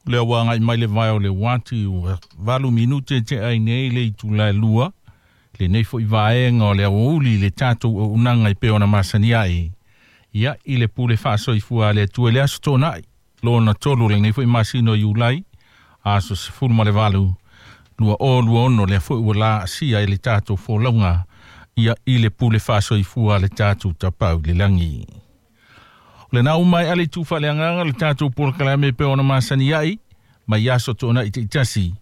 Lea ua agai mai le vae o le uati ua 8 minute tea ai nei le itula e 2 lenei foi vaega o le aoauli le tatou auaunaga e pei ona masani ai. Ia i le pule faasoifua a le Atua i le aso Toonai lona tolu lenei foi masina o Iulai aso 18 2026 lea foi ua laasia i le tatou folauga ia i le pule faasoifua a le tatou Tapaau i le lagi. O lena ua maea le itu faaleagaga le tatou polokalame pe ona masani ai mai aso Toonai taitasi.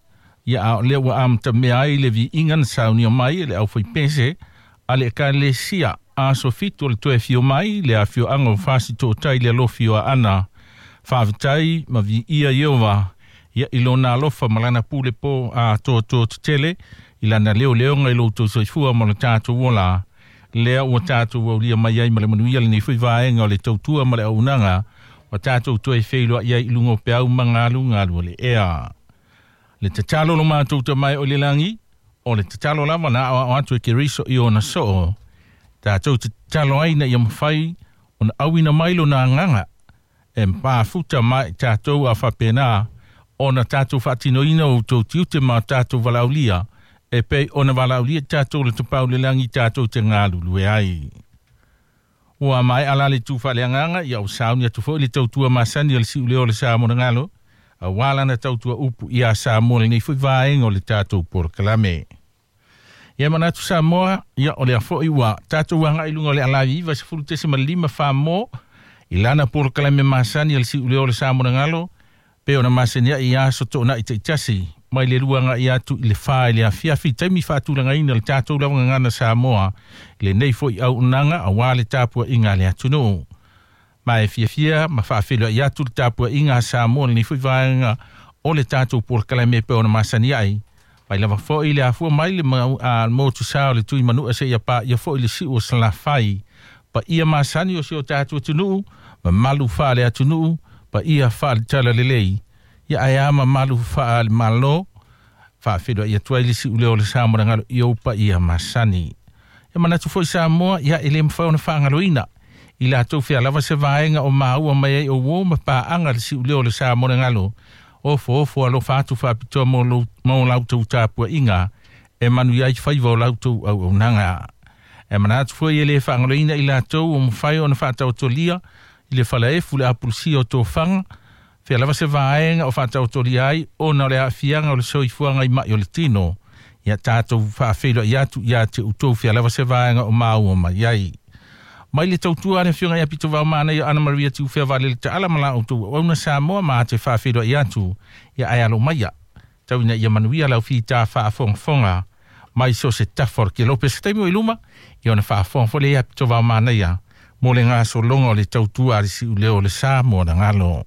Ia a o lea ua amatamea ai le viiga na saunia mai e le aufaipese a le Ekalesia aso 7 o le toe afio mai le afioaga o Fasi Tootai le alofi o Aana. Faafetai ma viia Ieova ia i lona alofa ma lana pule po a toatoa tetele i lana leoleoga i lo outou soifua ma lo tatou ola lea ua tatou aulia mai ai ma le manuia lenei foi vaega o le tautua ma le auaunaga ua tatou toe feiloai ai i luga o peau ma galugalu o le ea. Le tatalo lo matou Tama e o i le lagi, o le tatalo lava na aoao atu e Keriso i ona soo, tatou te tatalo ai ina ia mafai ona auina mai lona agaga e mafuta mai tatou a faapena ona tatou faatinoina o outou tiute ma tatou valaaulia e pei ona valaaulia tatou le Tapaau i le lagi tatou te galulue ai. Ua maea la le itu faaleagaga ia ua sauni atu foi le tautua masani a le siuleo o le sa monogalo aua lana tautua upu ia Samoa lenei foi vaega o le tatou polokalame. Ia manatu Samoa, ia o lea foi ua tatou agai i luga o le alavi 90.5 Famo i lana polokalame masani a le siuleo o le sa monogalo pe ona masani ai ia aso Toonai taitasi mai le 2 agai atu i le 4 i le afiafi taimi faatulagaina le tatou lava gagana Samoa i lenei foi auaunaga aua le tapuaiga a le atunuu. Ma e fiafia ma faafeiloai atu le tapuaiga a Samoa lenei foi vaega o le tatou polokalame pe ona masani ai. Mai lava foi le afua mai le motu sa o le tui manua seia paia foi le siu o Salafai. Paia masani o si o tatou atunuu, mamalu faale atunuu, paia faale talalelei. Ia ae a mamalu faale malo, faafeiloai atu ai le siuleo o le sa monogalo i ou paia masani. E manatu foi Samoa, ia e le mafai ona faagaloina i latou fea lava se vaega o maua mai ai o uo ma paaga le siuleo o le sa monogalo. Ofo ofo alofa atu faapitoa mo lautou tapuaiga e manuia ai faiva o lautou auaunaga. E manatu foi e le faagaloina i latou o mafai ona faataotolia i le falaefu le apulusia o tofaga fea lava se vaega o faataotolia ai ona o le aafiaga o le soifuaga i mai o le tino. Ia tatou faafeiloai atu ia te outou fea lava se vaega o maua mai ai. Mai le tautua a le afioga ia Pitovao Manaia Ana Maria Tiufea Valele Taala ma la outou auauna Samoa ma te faafeiloai atu ia ae alo maia. Tau ina ia manuia lau fita faafogafoga mai so se tafa o le kelope se taimi o i luma ia ona faafofoga foi lea ia Pitovao Manaia mo le gasologa o le tautua a le siuleo o le sa mo galo.